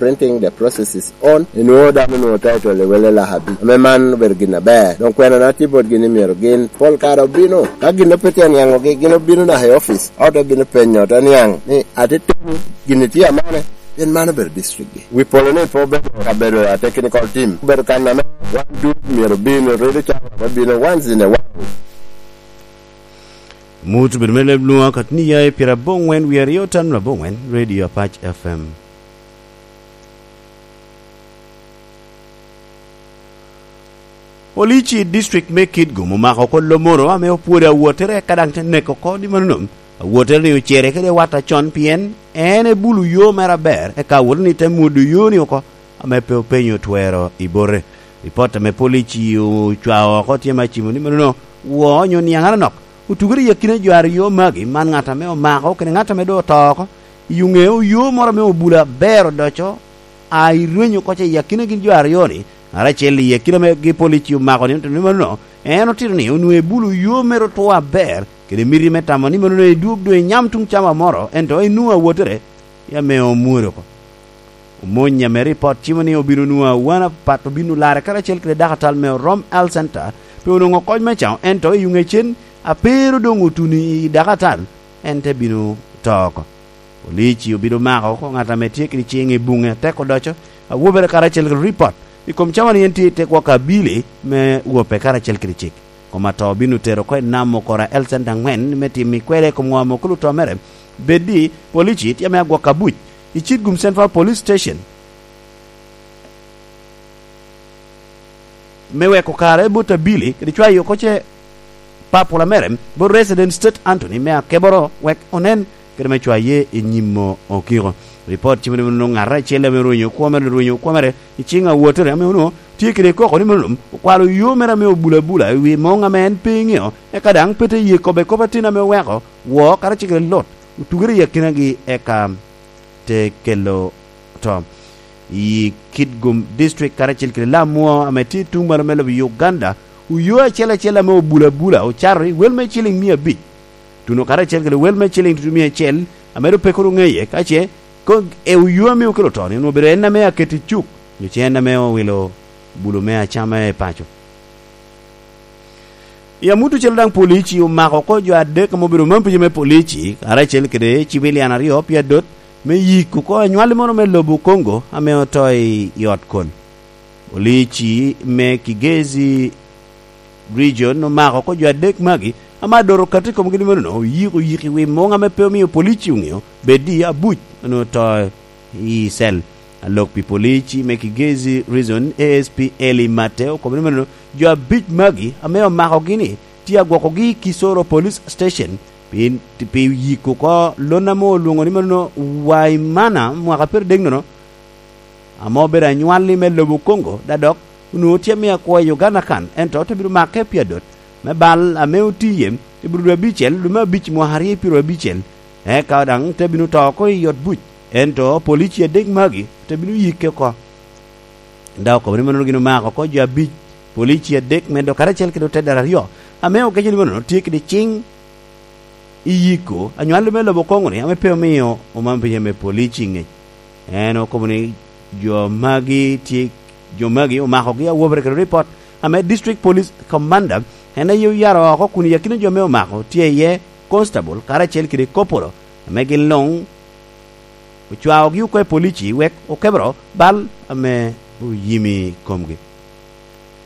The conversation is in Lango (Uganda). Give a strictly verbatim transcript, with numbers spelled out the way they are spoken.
Printing, the process is on. Inwoŋo dano onwoŋo title i wele lak abic. Ame man obedo gin aber. Doŋ kwena na tye botgi ni myero gin pol kare obino. Ka gin pe tye aniaŋogi, gin obino naka i office. Ot obino penyo, te niaŋ ni, "Atitino, gin tye amane?" Pien man obedo district-gi. Wi polo ni pe obedo kabedo a technical team. Obedo kan ame wan ducu myero obino, redo can ame bino once in a while. Mut bedo me leb lwoŋo akatni ya i pira aboŋwen wie aryo tan aboŋwen, Radio Apac F M. Police i district me Kitgum omako oko lo moro ame opwodo awottere, ka daŋ te neko oko ni manono. Awottere-ni ocere kede wat acon, pien en ebulo yo mere aber, eka awottere-ni te mwodo yo-ni oko, ame pe openyo twero i bote. Ripot ame police ocwao oko tye me acimo ni manono, woo onyo niaŋ anonok otugere i akina jo aryo magi, man ŋat ame omako kede ŋat ame doŋ oto oko. I ŋeo yo moro ame obulo aber odoco, a i rwenyo oko ca i akina gin jo aryo-ni, ŋat acel i akina megi police omako ni, ni manono, en otito ni onwoŋo ebulo yo mere otwo aber, kede miti me tamo ni manono edwog doŋ enyam tuŋ cama moro, ento enwoŋo awottere, ya ame omwodo oko. Omony ame ripot cimo ni obino nwoŋo awan apat obino larre karacel kede dakatal me Orom Health Center, pe onwoŋo kony me caŋo, ento i ŋecen a pe ru doŋ otuno i dakatal, en te bino to oko. Police obino mako oko ŋat ame tye kede ciŋ i buŋe atek odoco, awobere karacel kede ripot i kom cawa ni en tye i te gwoko abili me wope karacel kede cik. Kom atoo obino tero oko i nam okoro L cent aŋwen me timo i kwede i kom ŋo ame okelo to mere. Bed ni police tye ame agwok abuc i Kitgum Central Police Station me weko kare bot abili kede cwayo oko ce papula mere bot resident State Anthony me akeboro wek onen kede me cwaye i nyim okiko. Ripot cimo ni onwoŋo ŋat acel ame orwenyo kwo mere, orwenyo kwo mere i ciŋ awottere ame onwoŋo tye kede koko ni mom okwalo yo mere ame obulo abula i wi moŋ ame en pe eŋeo, eka daŋ pe te ye kobbe kop atin ame oweko woo karacel kede Lot otugere i akinagi, eka te kelo to. I Kitgum District karacel kede Lamwo ame tye i tuŋ malo me lobo Uganda, oyo acel acel ame obulo abula ocato i wel me ciliŋ mia abic. Tuno karacel kede wel me ciliŋ tutu mia acel ame doŋ pe kono ŋeye, ka ce ko-, e oyo ame okelo to ni onwoŋo obedo en ame aketo i cuk, nyo ce en ame owilo bulo me acama i paco. I amut ocele daŋ polici omako oko jo adek ame obedo man pica me polici, karacel kede civilian aryo pi adot me yiko oko anywalli moro me lobo Congo ame oto i, i ot kol. Polici me Kigezi Region omako oko jo adek magi, ame adot okato i komgi ni menono oyiko yiko i wi muŋ ame pe omio polici oŋeo, bed i abuc onwoŋo oto i cell. Alok pi polici me Kigezi Region, A S P Eli Mate, okobo ni menono jo abic magi ame omakogi-ni tye agwokogi i Kisoro Police Station pi, pi yiko oko lon ame olwoŋo ni menono Waimana mwaka pyeradek nono, ame obedo anywalli me lobo Congo, da dok onwoŋo tye ame akwo i Uganda kan, ento te bino make pi adot me bal ame otiye i bur dwe abicel, dwe me abic mwaka aryo i pyeraryo abicel, eka daŋ te bino to oko i ot buc, ento polici adek magi te bino yikke oko. Da okobo ni mano gin omako oko jo abic, polici adek medo karacel kede otedere aryo, ame ogeco ni mano tye kede ciŋ i yiko anywalli me lobo Congo-ni ame pe omio omam pica me polici i ŋec. En okobo ni jo magi tye, jo magi omakogi awobere kede ripot ame District Police Commander en aye oyaro oko kun i akina jo ame omako tye iye constable karacel kede kopolo ame gin luŋ ocwaogi oko i polici wek okebero bal ame oyimi komgi.